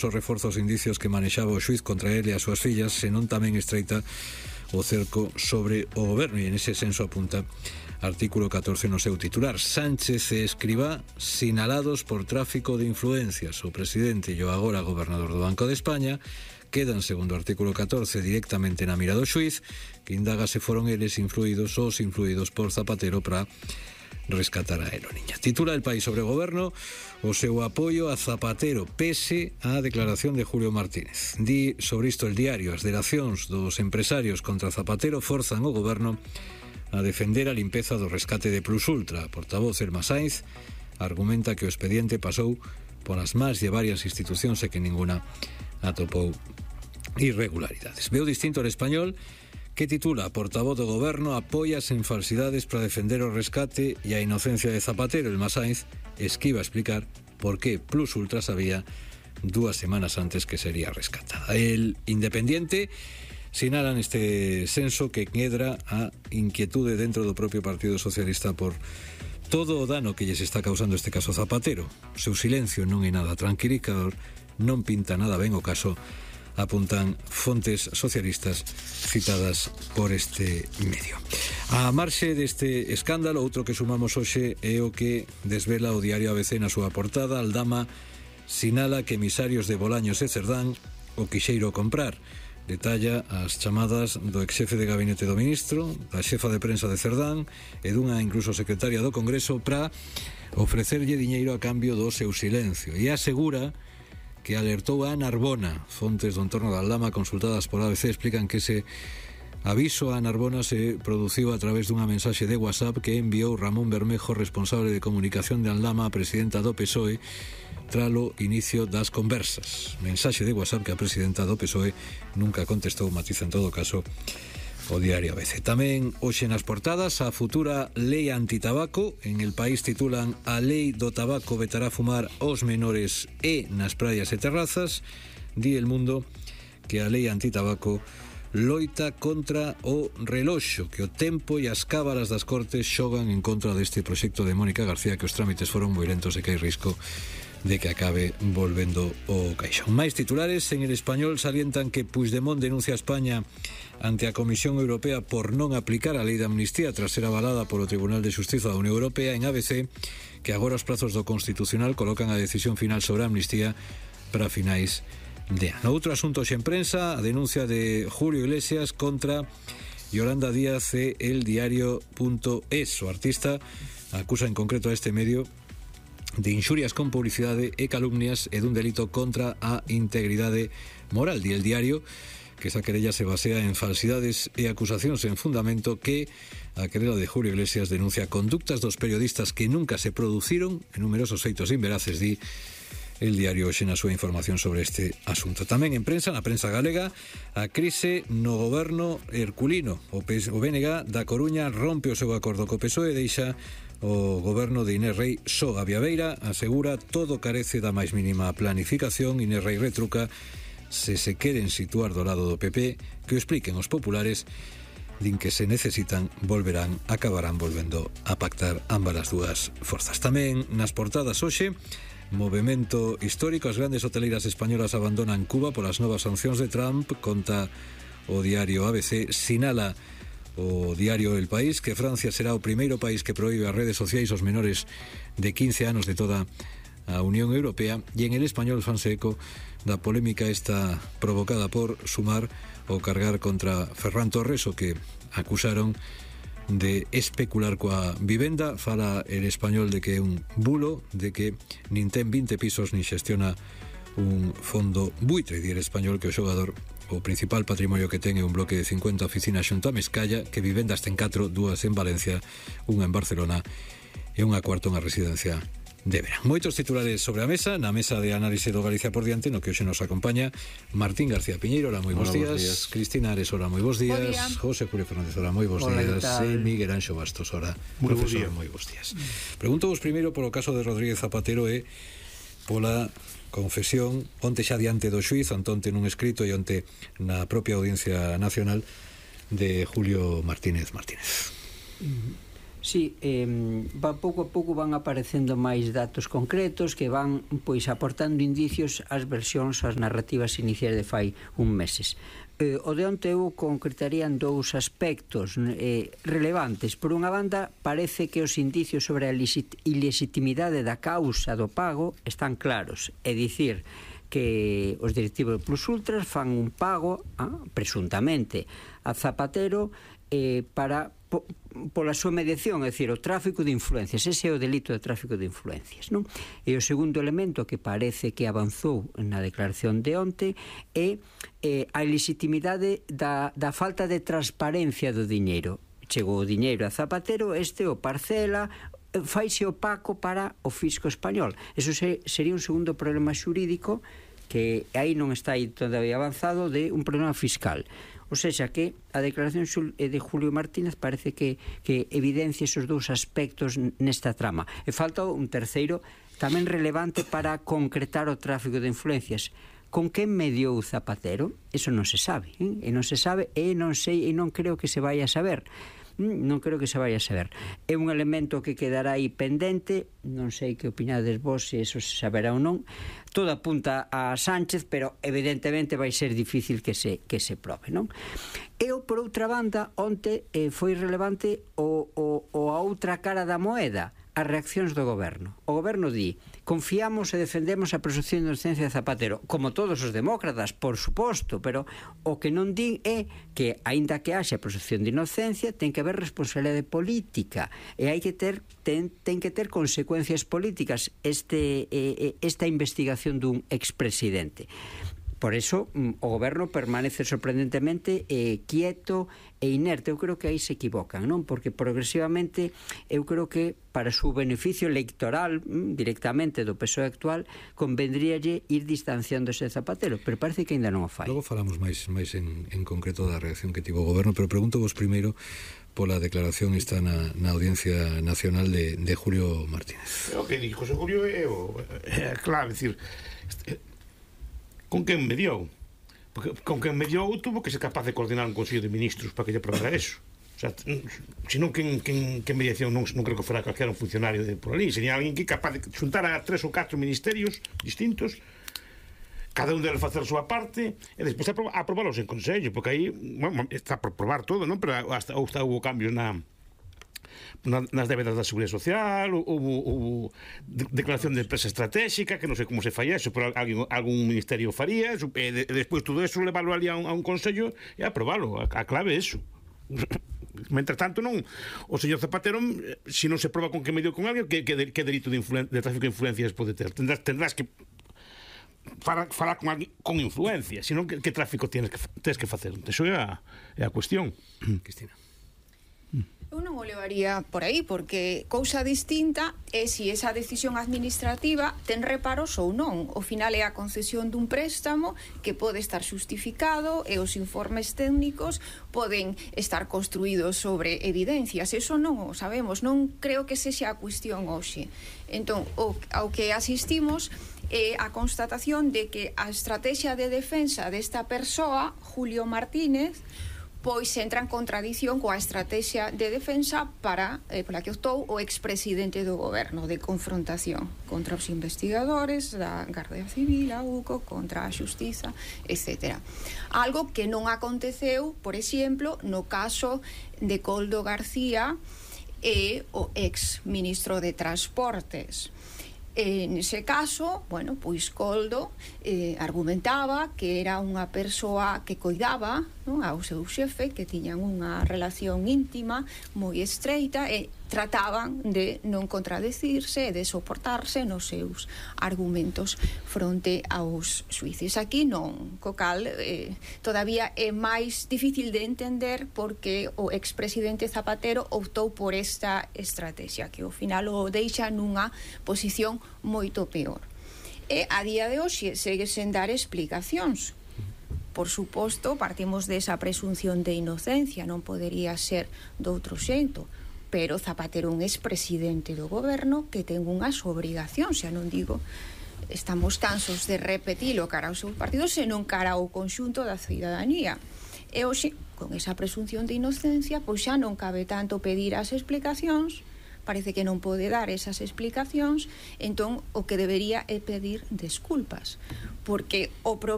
os reforzos indicios que manexaba o xuiz contra ele e as súas fillas, senón tamén estreita o cerco sobre o goberno, e en ese senso apunta artículo 14 no seu titular. Sánchez e Escrivá sinalados por tráfico de influencias. O presidente e o agora gobernador do Banco de España quedan, segundo o artículo 14, directamente na mira do xuiz, que indaga se foron eles influídos por Zapatero para rescatar a Aeroniña. Titula El País sobre o goberno o seu apoio a Zapatero pese á declaración de Julio Martínez. Di sobre isto El Diario: as delacións dos empresarios contra Zapatero forzan o goberno a defender a limpeza do rescate de Plus Ultra. A portavoz Elma Sainz argumenta que o expediente pasou polas más de varias institucións e que ninguna atopou irregularidades. Veo distinto El Español, que titula: portavoz do goberno apoias en falsidades para defender o rescate e a inocencia de Zapatero. Elma Sainz esquiva explicar por que Plus Ultra sabía 2 semanas antes que sería rescatada. El Independiente sinala neste senso que medra a inquietude dentro do propio Partido Socialista por todo o dano que lles está causando este caso Zapatero. O seu silencio non é nada tranquilizador, non pinta nada ben o caso, apuntan fontes socialistas citadas por este medio. A marxe deste escándalo, outro que sumamos hoxe é o que desvela o diario ABC na súa portada. Aldama sinala que emisarios de Bolaños e Cerdán o quixeiro comprar. Detalla as chamadas do exxefe de gabinete do ministro, da xefa de prensa de Cerdán e dunha incluso secretaria do Congreso para ofrecerlle diñeiro a cambio do seu silencio, e asegura que alertou a Narbona. Fontes do entorno da Aldama consultadas por ABC explican que ese aviso a Narbona se produciu a través dunha mensaxe de WhatsApp que enviou Ramón Bermejo, responsable de comunicación de Aldama, a presidenta do PSOE, tralo inicio das conversas. Mensaxe de WhatsApp que a presidenta do PSOE nunca contestou, matiza en todo caso o diario ABC. Tamén hoxe nas portadas a futura lei antitabaco. En El País titulan: a lei do tabaco vetará fumar aos menores e nas praias e terrazas. Di El Mundo que a lei antitabaco loita contra o reloxo, que o tempo e as cábalas das Cortes xogan en contra deste proxecto de Mónica García, que os trámites foron moi lentos e que hai risco de que acabe volvendo o caixón. Máis titulares. En El Español salientan que Puigdemont denuncia a España ante a Comisión Europea por non aplicar a lei de amnistía tras ser avalada polo Tribunal de Xustiza da Unión Europea. En ABC, que agora os prazos do Constitucional colocan a decisión final sobre a amnistía para finais de ano. Outro asunto xe en prensa, a denuncia de Julio Iglesias contra Yolanda Díaz e El Diario.es. O artista acusa en concreto a este medio de inxurias con publicidade e calumnias e dun delito contra a integridade moral. Di El Diario que esa querella se basea en falsidades e acusacións en fundamento, que a querela de Julio Iglesias denuncia conductas dos periodistas que nunca se produciron en numerosos feitos inveraces. Di El Diario hoxe na súa información sobre este asunto. Tamén en prensa, na prensa galega, a crise no goberno herculino. O BNG da Coruña rompe o seu acordo co PSOE e deixa o goberno de Inés Rei só. A Viabeira asegura todo carece da máis mínima planificación. Inés Rei retruca se queren situar do lado do PP, que o expliquen os populares. Din que se necesitan, acabarán volvendo a pactar ambas as dúas forzas. Tamén nas portadas hoxe, movemento histórico. As grandes hoteleiras españolas abandonan Cuba polas novas sancións de Trump. Conta o diario ABC. Sinala o diario El País que Francia será o primeiro país que proíbe as redes sociais aos menores de 15 anos de toda a Unión Europea. E en El Español fanse eco da polémica esta provocada por Sumar o cargar contra Ferran Torres, o que acusaron de especular coa vivenda. Fala El Español de que é un bulo, de que nin ten 20 pisos nin xestiona un fondo buitre. Di El Español que o xogador o principal patrimonio que ten é un bloque de 50 oficinas xunto a Mestalla, que vivendas ten 4, 2 en Valencia, unha en Barcelona e unha cuarta unha residencia de verán. Moitos titulares sobre a mesa, na mesa de análise do Galicia por diante, no que hoxe nos acompaña Martín García Piñeiro, hola, moi bons días. Cristina Ares, hola, moi bons días. José Julio Fernández, hola, moi bons días. E Miguel Anxo Bastos, hola, profesor, moi bons días. Pregunto vos primeiro polo caso de Rodríguez Zapatero e pola confesión onte xa diante do xuiz, onte nun escrito e onte na propia Audiencia Nacional de Julio Martínez. Sí, pouco a pouco van aparecendo máis datos concretos que van aportando indicios ás versións, ás narrativas iniciais de fai meses. O de onte eu concretaría en dous aspectos relevantes. Por unha banda, parece que os indicios sobre a ilegitimidade da causa do pago están claros, é dicir, que os directivos de Plus Ultras fan un pago, presuntamente, a Zapatero para pola súa mediación, é dicir, o tráfico de influencias. Ese é o delito de tráfico de influencias, non? E o segundo elemento que parece que avanzou na declaración de onte é a ilegitimidade da falta de transparencia do diñeiro. Chegou o diñeiro a Zapatero, o parcela, faise opaco para o fisco español. Eso sería un segundo problema xurídico que aí non está aí todavía avanzado, de un problema fiscal. O seja, que a declaración de Julio Martínez parece que evidencia esos dous aspectos nesta trama. E falta un terceiro tamén relevante para concretar o tráfico de influencias. Con quen mediou Zapatero? Eso non se sabe, e non se sabe, e non sei, e non creo que se vai a saber. Non creo que se vai a saber. É un elemento que quedará aí pendente, non sei que opinades vos, se eso se saberá ou non. Todo apunta a Sánchez, pero evidentemente vai ser difícil que se probe, non? E por outra banda, onte foi relevante a outra cara da moeda, as reaccións do goberno. O goberno di: confiamos e defendemos a presunción de inocencia de Zapatero, como todos os demócratas, por suposto, pero o que non din é que, aínda que haxa presunción de inocencia, ten que haber responsabilidade política, e ten que ter consecuencias políticas esta investigación dun expresidente. Por eso o goberno permanece sorprendentemente quieto e inerte. Eu creo que aí se equivocan, non? Porque progresivamente eu creo que para o seu beneficio electoral directamente do PSOE actual convendríalle ir distanciándose de Zapatero, pero parece que ainda non o fai. Logo falamos máis en concreto da reacción que tivo o goberno, pero pregunto vos primeiro pola declaración está na Audiencia Nacional de Julio Martínez. O que dixo Julio é clave, decir, con quen mediou? Porque con quen mediou tuvo que ser capaz de coordinar un Consello de Ministros para que lle aprobara eso. O sea, senón que mediación non creo que fora calquera un funcionario por ali, sería alguén que capaz de xuntar a 3 ou 4 ministerios distintos, cada un deles facer a súa parte e despois aprobalos en Consello, porque aí está por probar todo, non? Pero hasta houve cambios nas débedas da Seguridade Social, houve declaración de empresa estratégica, que non sei como se fai eso, pero algún ministerio faría, e despois todo eso levarlo ali a un consello e aprobalo. A clave é eso. Mentre tanto, non, o señor Zapatero, se non se proba con que medio con alguén, que delito de tráfico de influencias pode ter? Tendrás que falar con alguén con influencia, senón que tráfico tens que facer. Eso é a cuestión. Cristina. Eu non o levaría por aí, porque cousa distinta é se esa decisión administrativa ten reparos ou non. Ao final é a concesión dun préstamo que pode estar xustificado e os informes técnicos poden estar construídos sobre evidencias. Eso non o sabemos, non creo que sexa a cuestión hoxe. Entón, ao que asistimos é a constatación de que a estrategia de defensa desta persoa, Julio Martínez, pois entra en contradición coa estrategia de defensa pola que optou o expresidente do goberno, de confrontación contra os investigadores da Garda Civil, a UCO, contra a Xustiza, etc. Algo que non aconteceu, por exemplo, no caso de Koldo García e o ex-ministro de Transportes. Nese caso, pois Koldo argumentaba que era unha persoa que coidaba, non, ao seu xefe, que tiñan unha relación íntima moi estreita e trataban de non contradecirse e de soportarse nos seus argumentos fronte aos xuíces. Aquí non, co cal todavía é máis difícil de entender porque o expresidente Zapatero optou por esta estrategia, que ao final o deixa nunha posición moito peor. E a día de hoxe segue sen dar explicacións. Por suposto, partimos desa presunción de inocencia, non podería ser doutro xeito, pero Zapatero un expresidente do goberno que ten unhas obrigacións, xa non digo, estamos cansos de repetilo cara ao seu partido, senón cara ao conxunto da cidadanía. E hoxe, con esa presunción de inocencia, pois xa non cabe tanto pedir as explicacións, parece que non pode dar esas explicacións, entón o que debería é pedir desculpas, porque o problema